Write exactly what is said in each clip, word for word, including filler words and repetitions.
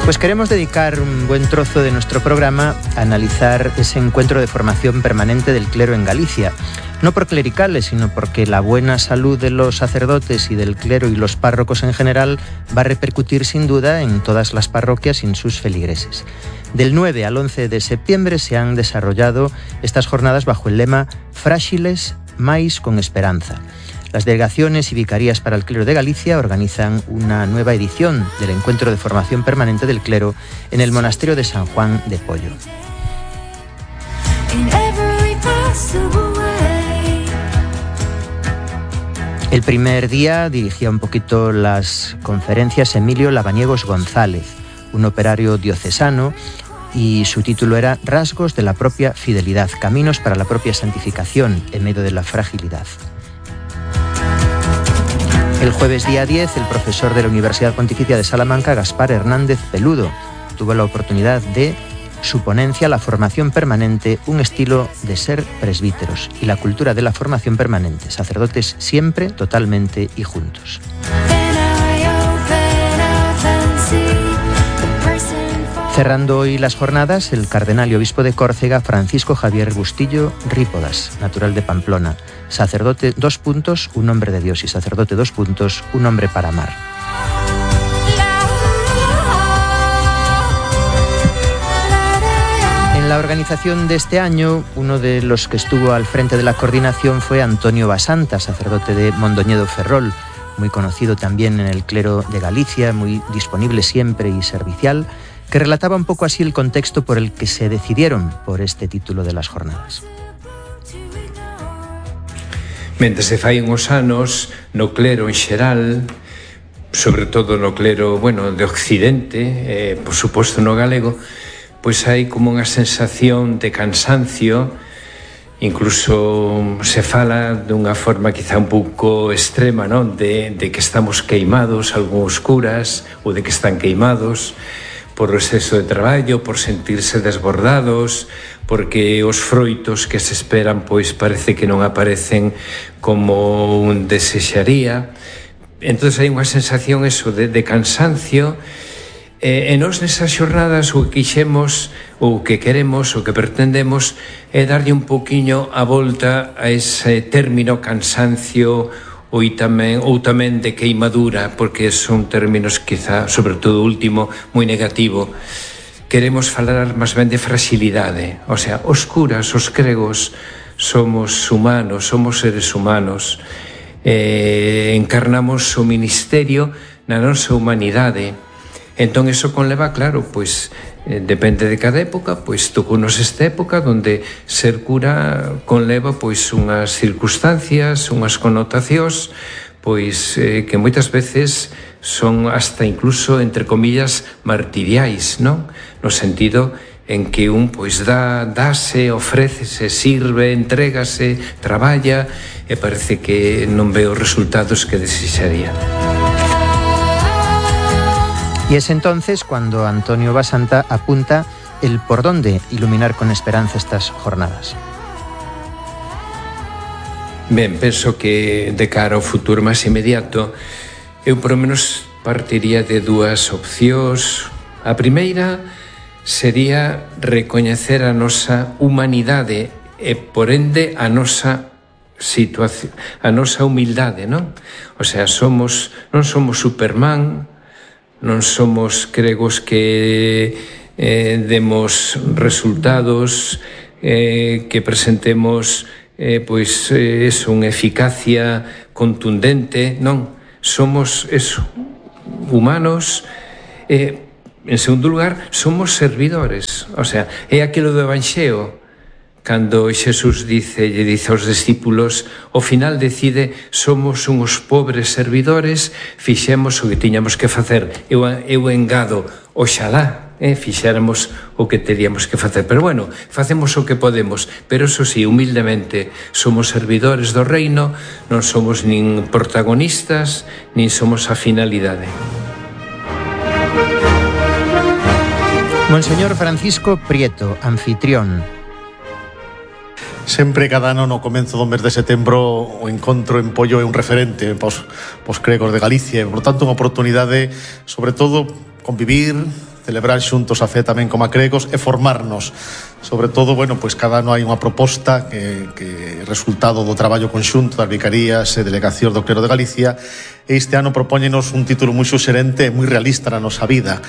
Pues queremos dedicar un buen trozo de nuestro programa a analizar ese encuentro de formación permanente del clero en Galicia. No por clericales, sino porque la buena salud de los sacerdotes y del clero y los párrocos en general va a repercutir sin duda en todas las parroquias y en sus feligreses. Del nueve al once de septiembre se han desarrollado estas jornadas bajo el lema Frágiles, mais con esperanza. Las delegaciones y vicarías para el clero de Galicia organizan una nueva edición del encuentro de formación permanente del clero en el monasterio de San Juan de Pollo. El primer día dirigía un poquito las conferencias Emilio Lavaniegos González, un operario diocesano, y su título era Rasgos de la propia fidelidad, caminos para la propia santificación en medio de la fragilidad. El jueves día diez, el profesor de la Universidad Pontificia de Salamanca, Gaspar Hernández Peludo, tuvo la oportunidad de su ponencia La formación permanente, un estilo de ser presbíteros y la cultura de la formación permanente, sacerdotes siempre, totalmente y juntos. Cerrando hoy las jornadas, el cardenal y obispo de Córcega, Francisco Javier Bustillo Rípodas, natural de Pamplona, sacerdote dos puntos, un hombre de Dios, y sacerdote dos puntos, un hombre para amar. En la organización de este año, uno de los que estuvo al frente de la coordinación fue Antonio Basanta, sacerdote de Mondoñedo Ferrol, muy conocido también en el clero de Galicia, muy disponible siempre y servicial, que relataba un pouco así el contexto por el que se decidieron por este título de las jornadas. Mentre se fai uns anos no clero en xeral, sobre todo no clero, bueno, de Occidente, eh, por suposto no galego, pois hai como unha sensación de cansancio, incluso se fala dunha forma quizá un pouco extrema, non? De, de que estamos queimados, algúns curas, ou de que están queimados, por o exceso de traballo, por sentirse desbordados, porque os froitos que se esperan pois parece que non aparecen como un desexaría. Entón hai unha sensación eso de, de cansancio, e, e nos nesas xornadas o que quixemos, ou que queremos, o que pretendemos é darlle un poquinho a volta a ese término cansancio ou tamén, ou tamén de queimadura, porque son términos quizá, sobre todo o último, moi negativo. Queremos falar máis ben de fragilidade, o sea, os curas, os cregos, somos humanos, somos seres humanos, eh, encarnamos o ministerio na nosa humanidade. Entón, eso conleva, claro, pois, eh, depende de cada época, pois, tocounos esta época onde ser cura conleva, pois, unhas circunstancias, unhas connotacións, pois, eh, que moitas veces son hasta incluso, entre comillas, martiriais, non? No sentido en que un, pois, dá, dáse, ofrécese, sirve, entrégase, traballa, e parece que non ve os resultados que desexaría. Y es entonces cuando Antonio Basanta apunta el por dónde iluminar con esperanza estas jornadas. Ben, penso que de cara ao futuro máis inmediato, eu por lo menos partiría de dúas opcións. A primeira sería recoñecer a nosa humanidade e, por ende, a nosa situación, a nosa humildade, non? O sea, somos, non somos Superman, non somos cregos que eh, demos resultados, eh, que presentemos eh, pois eh, eso, unha eficacia contundente, non, somos eso, humanos. Eh, en segundo lugar, somos servidores, o sea, é aquilo do Evanxeo, cando Xesús dice, lle dice aos discípulos, ao final decide, somos uns pobres servidores, fixemos o que tiñamos que facer. Eu, eu engado, oxalá, eh, fixéramos o que teríamos que facer. Pero bueno, facemos o que podemos, pero eso sí, humildemente, somos servidores do reino, non somos nin protagonistas, nin somos a finalidade. Monseñor Francisco Prieto, anfitrión. Sempre cada ano no comenzo do mes de setembro o encontro en Pollo é un referente pos, pos cregos de Galicia e, por tanto, unha oportunidade, sobre todo, convivir, celebrar xuntos a fe tamén como acregos e formarnos. Sobre todo, bueno, pois cada ano hai unha proposta que, que é resultado do traballo conxunto das vicarías e delegacións do Clero de Galicia, e este ano propóñenos un título moi suxerente e moi realista na nosa vida.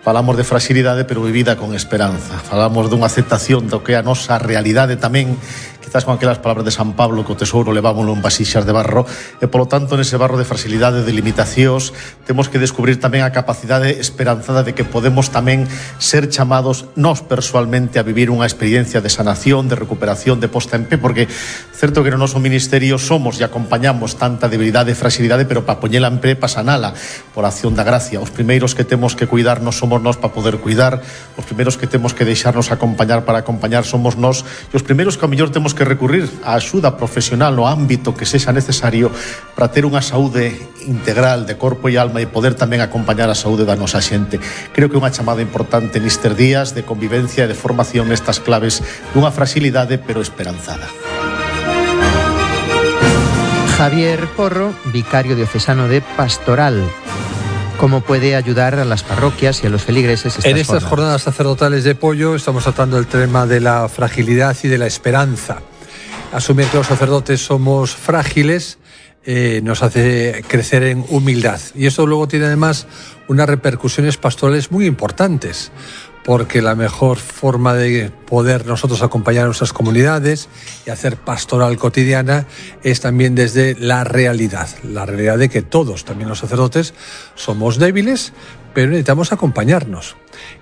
Falamos de fragilidade, pero vivida con esperanza. Falamos dunha aceptación do que é a nosa realidade tamén, quizás con aquelas palabras de San Pablo, que o tesouro levámoslo en vasixas de barro, e polo tanto nese barro de fragilidade, de limitacións, temos que descubrir tamén a capacidade esperanzada de que podemos tamén ser chamados nós persoalmente a vivir unha experiencia de sanación, de recuperación, de posta en pé, porque certo que no noso ministerio somos e acompañamos tanta debilidade e fragilidade, pero para poñela en pé, para sanala, por acción da gracia. Os primeiros que temos que cuidarnos somos nós para poder cuidar, os primeiros que temos que deixarnos acompañar para acompañar somos nós, e os primeiros que ao mellor temos que recurrir á axuda profesional no ámbito que sexa necesario para ter unha saúde integral de corpo e alma e poder tamén acompañar a saúde da nosa xente. Creo que é unha chamada importante nestes días de convivencia e de formación nestas claves dunha fragilidade pero esperanzada. Javier Porro, vicario diocesano de Pastoral. ¿Cómo puede ayudar a las parroquias y a los feligreses estas En estas jornadas? jornadas sacerdotales de Pollo estamos tratando el tema de la fragilidad y de la esperanza. Asumir que los sacerdotes somos frágiles eh, nos hace crecer en humildad. Y esto luego tiene además unas repercusiones pastorales muy importantes, porque la mejor forma de poder nosotros acompañar a nuestras comunidades y hacer pastoral cotidiana es también desde la realidad, la realidad de que todos, también los sacerdotes, somos débiles, pero necesitamos acompañarnos.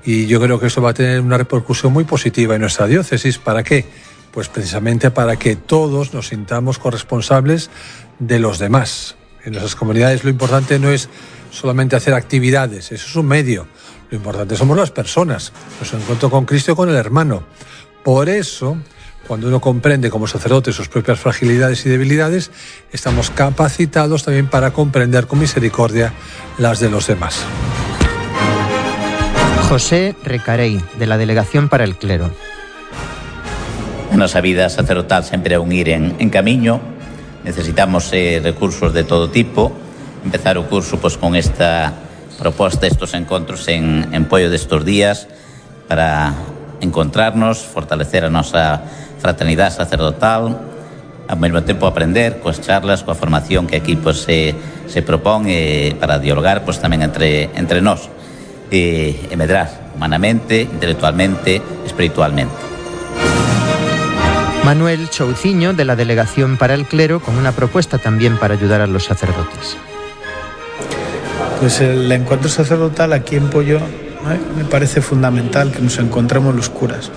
Y yo creo que eso va a tener una repercusión muy positiva en nuestra diócesis. ¿Para qué? Pues precisamente para que todos nos sintamos corresponsables de los demás. En nuestras comunidades lo importante no es solamente hacer actividades, eso es un medio. Lo importante somos las personas, nuestro encuentro con Cristo y con el hermano. Por eso, cuando uno comprende como sacerdote sus propias fragilidades y debilidades, estamos capacitados también para comprender con misericordia las de los demás. José Recarey, de la Delegación para el Clero. A nosa vida sacerdotal sempre é un ir en, en camiño. Necesitamos eh, recursos de todo tipo. Empezar o curso pois, con esta proposta, estos encontros en, en Pollo destos días para encontrarnos, fortalecer a nosa fraternidade sacerdotal, ao mesmo tempo aprender coas charlas, coa formación que aquí pois, se, se propón eh, para dialogar pois, tamén entre, entre nós e, e medrar humanamente, intelectualmente, espiritualmente. Manuel Chouciño, de la Delegación para el Clero, con una propuesta también para ayudar a los sacerdotes. Pues el encuentro sacerdotal aquí en Pollo ¿eh? me parece fundamental que nos encontremos los curas,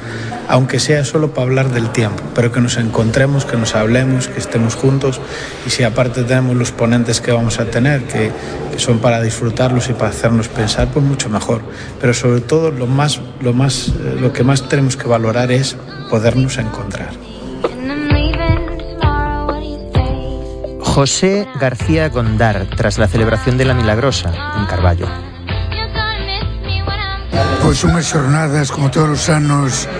aunque sea solo para hablar del tiempo, pero que nos encontremos, que nos hablemos, que estemos juntos, y si aparte tenemos los ponentes que vamos a tener, que, que son para disfrutarlos y para hacernos pensar, pues mucho mejor. Pero sobre todo lo, más, lo, más, eh, lo que más tenemos que valorar es podernos encontrar. José García Gondar, tras la celebración de la Milagrosa, en Carballo. Pois unhas xornadas, como todos os anos,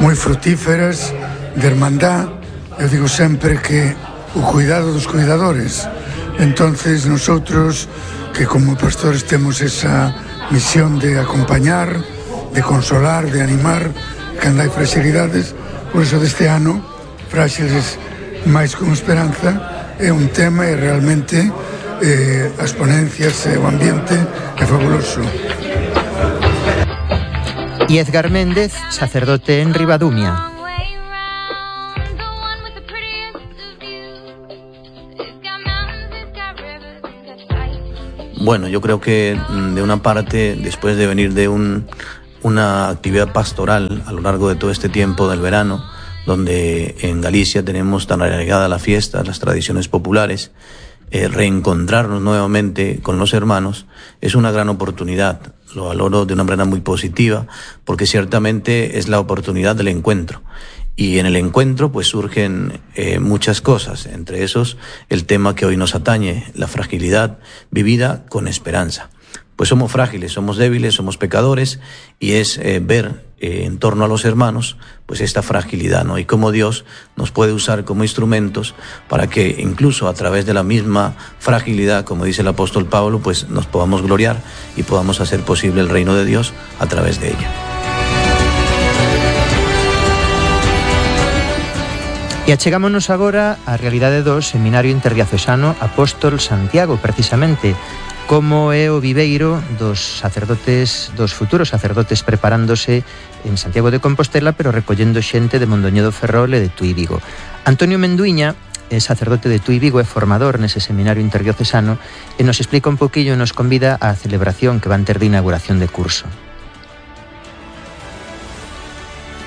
moi frutíferas, de hermandad. Eu digo sempre que o cuidado dos cuidadores. Entonces, nosotros, que como pastores temos esa misión de acompañar, de consolar, de animar, cando hai fragilidades, por eso deste ano, Fráxiles máis con esperanza, é un tema e realmente eh, as ponencias e o ambiente é fabuloso. Y Edgar Méndez, sacerdote en Ribadumia. Bueno, yo creo que de una parte, después de venir de un, una actividad pastoral a lo largo de todo este tiempo del verano, donde en Galicia tenemos tan arraigada la fiesta, las tradiciones populares, eh, reencontrarnos nuevamente con los hermanos es una gran oportunidad. Lo valoro de una manera muy positiva, porque ciertamente es la oportunidad del encuentro. Y en el encuentro pues surgen eh, muchas cosas, entre esos el tema que hoy nos atañe, la fragilidad vivida con esperanza. pues somos frágiles, somos débiles, somos pecadores, y es eh, ver eh, en torno a los hermanos pues esta fragilidad, ¿no? Y cómo Dios nos puede usar como instrumentos para que incluso a través de la misma fragilidad, como dice el apóstol Pablo, pues nos podamos gloriar y podamos hacer posible el reino de Dios a través de ella. E achegámonos agora á realidade do Seminario Interdiocesano Apóstol Santiago, precisamente, como é o viveiro dos sacerdotes, dos futuros sacerdotes preparándose en Santiago de Compostela, pero recollendo xente de Mondoñedo Ferrol e de Tui Vigo. Antonio Menduiña é sacerdote de Tui Vigo, é formador nese Seminario Interdiocesano, e nos explica un poquillo e nos convida á celebración que van ter de inauguración de curso.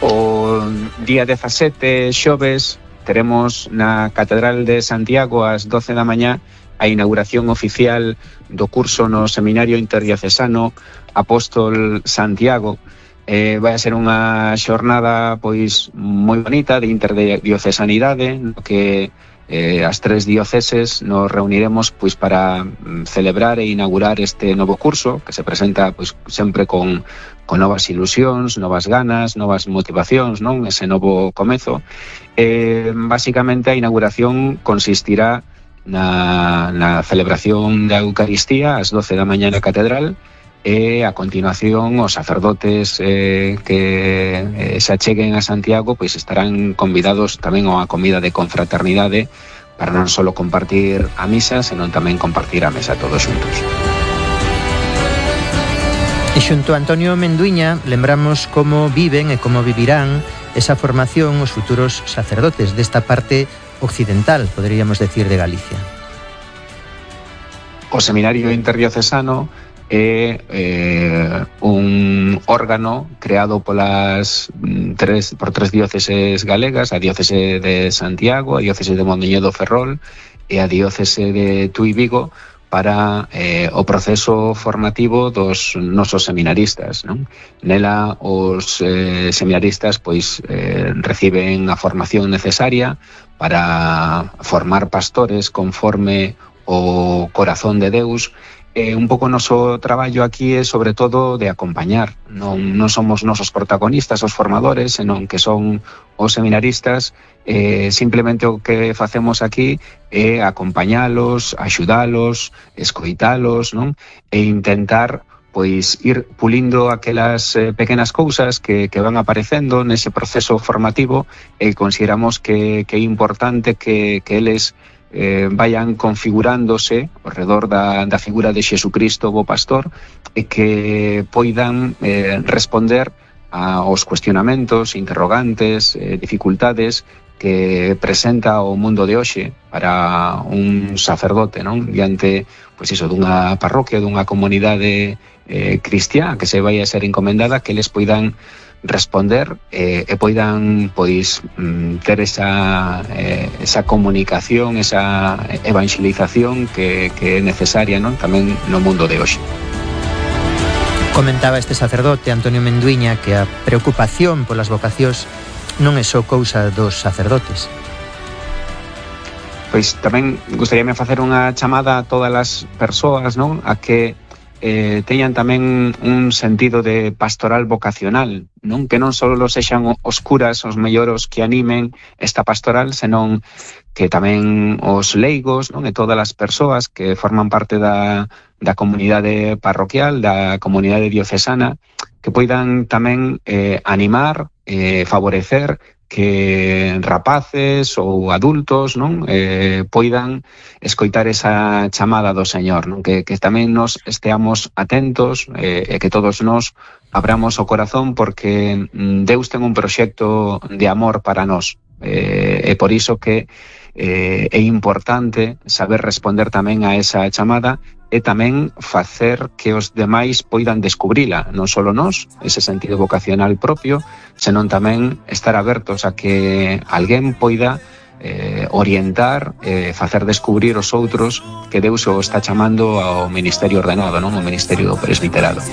O día dezasete, xoves, teremos na Catedral de Santiago ás doce da mañá a inauguración oficial do curso no Seminario Interdiocesano Apóstol Santiago. Eh, vai a ser unha xornada pois moi bonita de interdiocesanidade, no que eh, as tres dioceses nos reuniremos pois para mm, celebrar e inaugurar este novo curso que se presenta pois sempre con con novas ilusións, novas ganas, novas motivacións, non? Ese novo comezo. Eh, basicamente a inauguración consistirá na, na celebración da Eucaristía ás doce da mañá na Catedral, e a continuación os sacerdotes eh, que eh, se acheguen a Santiago pois estarán convidados tamén a comida de confraternidade para non só compartir a misa, senón tamén compartir a mesa todos xuntos. E xunto a Antonio Menduiña lembramos como viven e como vivirán esa formación os futuros sacerdotes desta parte occidental, poderíamos decir, de Galicia. O Seminario Interdiocesano é eh, un órgano creado polas tres, por tres dióceses galegas, a diócese de Santiago, a diócese de Mondoñedo Ferrol e a diócese de Tui Vigo, para eh, o proceso formativo dos nosos seminaristas, non? Nela os eh, seminaristas pois eh, reciben a formación necesaria para formar pastores conforme o corazón de Deus. Eh, un pouco o noso traballo aquí é sobre todo de acompañar, non, non somos nosos protagonistas, os formadores, senón que son os seminaristas. Eh, simplemente o que facemos aquí é acompañalos, axudalos, escoitalos, non? E intentar pois ir pulindo aquelas eh, pequenas cousas que, que van aparecendo nese proceso formativo, e consideramos que, que é importante que, que eles Eh, vayan configurándose ao redor da, da figura de Xesucristo, o bo pastor, e que poidan eh, responder aos cuestionamentos, interrogantes, eh, dificultades que presenta o mundo de hoxe para un sacerdote, non? Diante, pois iso, dunha parroquia, dunha comunidade eh, cristiá que se vai a ser encomendada, que eles poidan responder eh, e poidan pois ter esa eh, esa comunicación, esa evangelización que, que é necesaria, non? Tamén no mundo de hoxe. Comentaba este sacerdote Antonio Menduiña que a preocupación polas vocacións non é só cousa dos sacerdotes. Pois tamén gustaríame facer unha chamada a todas as persoas, non? A que Eh, teñan tamén un sentido de pastoral vocacional, non? Que non só sexan os curas os melloros que animen esta pastoral, senón que tamén os leigos, non? E todas as persoas que forman parte da, da comunidade parroquial, da comunidade diocesana, que poidan tamén eh, animar, eh, favorecer que rapaces ou adultos, non? Eh, poidan escoitar esa chamada do Señor, non? Que, que tamén nos esteamos atentos eh, e que todos nos abramos o corazón, porque Deus ten un proxecto de amor para nós, eh, e por iso que eh, é importante saber responder tamén a esa chamada e tamén facer que os demais poidan descubrila, non só nós, ese sentido vocacional propio, senón tamén estar abertos a que alguén poida eh, orientar, eh, facer descubrir os outros que Deus o está chamando ao ministerio ordenado, non? O ministerio do presbiterado.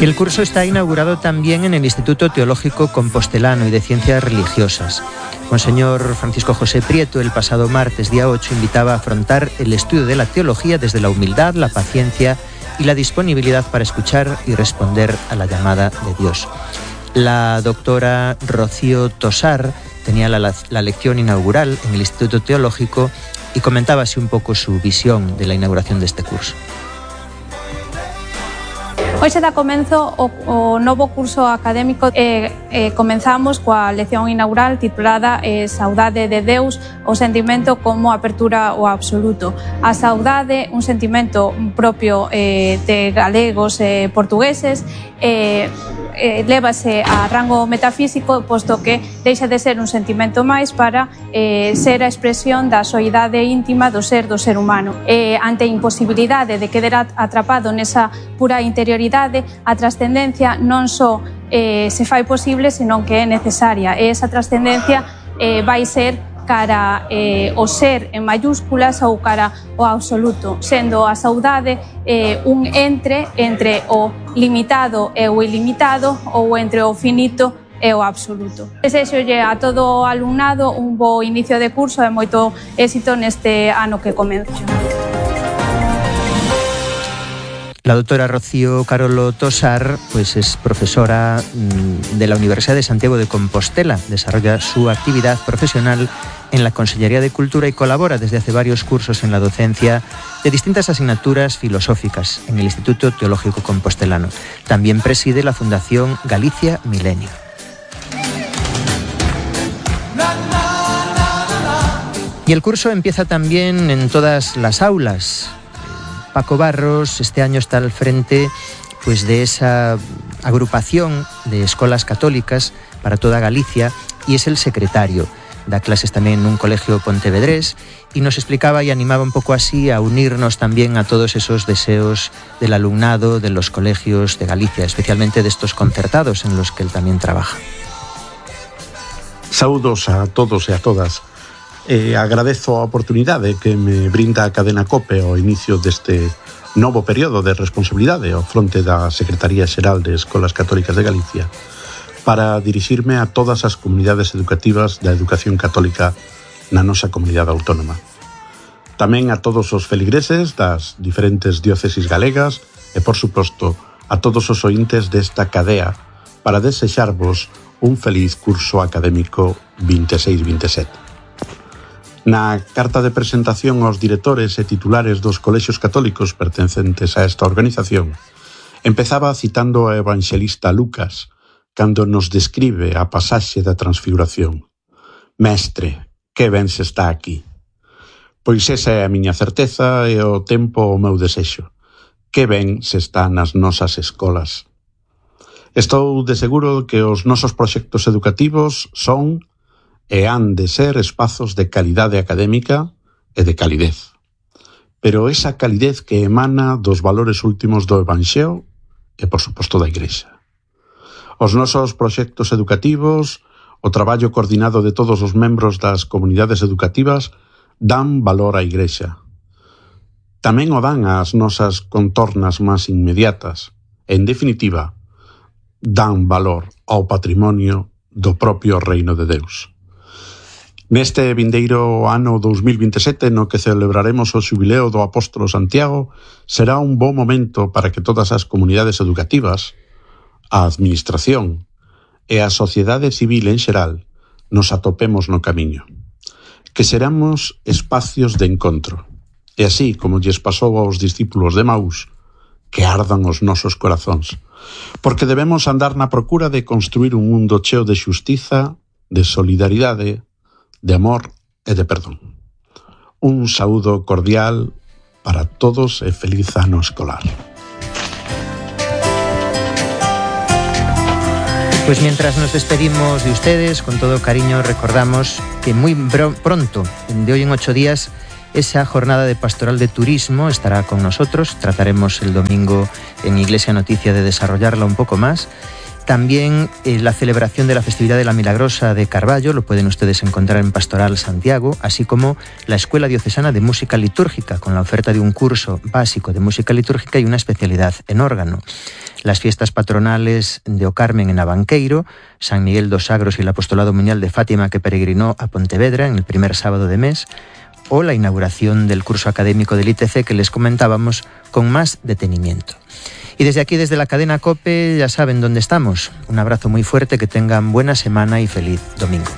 Y el curso está inaugurado también en el Instituto Teológico Compostelano y de Ciencias Religiosas. Monseñor Francisco José Prieto, el pasado martes, día ocho, invitaba a afrontar el estudio de la teología desde la humildad, la paciencia y la disponibilidad para escuchar y responder a la llamada de Dios. La doctora Rocío Tosar tenía la, la lección inaugural en el Instituto Teológico y comentaba así un pouco su visión de la inauguración deste curso. Hoxe dá comenzo o, o novo curso académico e eh, comenzamos coa lección inaugural titulada eh, Saudade de Deus, o sentimento como apertura ao absoluto. A saudade, un sentimento propio eh, de galegos e eh, portugueses, eh, eh, lévase a rango metafísico, posto que deixa de ser un sentimento máis para eh, ser a expresión da soidade íntima do ser do ser humano. Eh, ante a imposibilidade de quedar atrapado nesa pura interioridade, a trascendencia non só eh, se fai posible, senón que é necesaria. E esa trascendencia eh, vai ser cara eh, o ser en mayúsculas ou cara o absoluto, sendo a saudade eh, un entre entre o limitado e o ilimitado ou entre o finito e o absoluto. Desexolle a todo o alumnado un bo inicio de curso e moito éxito neste ano que comenzo. La doctora Rocío Carolo Tosar pues es profesora de la Universidad de Santiago de Compostela. Desarrolla su actividad profesional en la Consellería de Cultura y colabora desde hace varios cursos en la docencia de distintas asignaturas filosóficas en el Instituto Teológico Compostelano. También preside la Fundación Galicia Milenio. Y el curso empieza también en todas las aulas. Paco Barros este año está al frente pues, de esa agrupación de escuelas católicas para toda Galicia y es el secretario. Da clases también en un colegio pontevedrés y nos explicaba y animaba un poco así a unirnos también a todos esos deseos del alumnado de los colegios de Galicia, especialmente de estos concertados en los que él también trabaja. Saúdos a todos e a todas. E agradezo a oportunidade que me brinda a cadena COPE ao inicio deste novo período de responsabilidade ao fronte da Secretaría Xeral de Escolas Católicas de Galicia para dirixirme a todas as comunidades educativas da educación católica na nosa comunidade autónoma. Tamén a todos os feligreses das diferentes diócesis galegas e, por suposto, a todos os ointes desta cadea para desexarvos un feliz curso académico vinte e seis vinte e sete. Na carta de presentación aos directores e titulares dos colexios católicos pertencentes a esta organización, empezaba citando ao evanxelista Lucas, cando nos describe a pasaxe da transfiguración. Mestre, que ben se está aquí. Pois esa é a miña certeza e o tempo o meu desexo. Que ben se está nas nosas escolas. Estou de seguro que os nosos proxectos educativos son e han de ser espazos de calidade académica e de calidez. Pero esa calidez que emana dos valores últimos do Evanxeo e, por suposto, da Igrexa. Os nosos proxectos educativos, o traballo coordinado de todos os membros das comunidades educativas dan valor á Igrexa. Tamén o dan ás nosas contornas máis inmediatas. En definitiva, dan valor ao patrimonio do propio Reino de Deus. Neste vindeiro ano dous mil vinte e sete, no que celebraremos o xubileo do Apóstolo Santiago, será un bo momento para que todas as comunidades educativas, a administración e a sociedade civil en xeral nos atopemos no camiño. Que seramos espacios de encontro, e así como lles pasou aos discípulos de Maús, que ardan os nosos corazóns, porque debemos andar na procura de construir un mundo cheo de xustiza, de solidaridade, de amor e de perdón. Un saúdo cordial para todos e feliz ano escolar. Pues mientras nos despedimos de ustedes, con todo cariño recordamos que muy pronto, de hoy en ocho días, Esa jornada de pastoral de turismo estará con nosotros. Trataremos el domingo en Iglesia Noticia de desarrollarla un poco más. También eh, la celebración de la festividad de la Milagrosa de Carballo, lo pueden ustedes encontrar en Pastoral Santiago, así como la Escuela Diocesana de Música Litúrgica, con la oferta de un curso básico de música litúrgica y una especialidad en órgano. Las fiestas patronales de O Carmen en Abanqueiro, San Miguel dos Sagros y el Apostolado Muñal de Fátima que peregrinó a Pontevedra en el primer sábado de mes, o la inauguración del curso académico del I T C que les comentábamos con más detenimiento. Y desde aquí, desde la cadena COPE, ya saben dónde estamos. Un abrazo muy fuerte, que tengan buena semana y feliz domingo.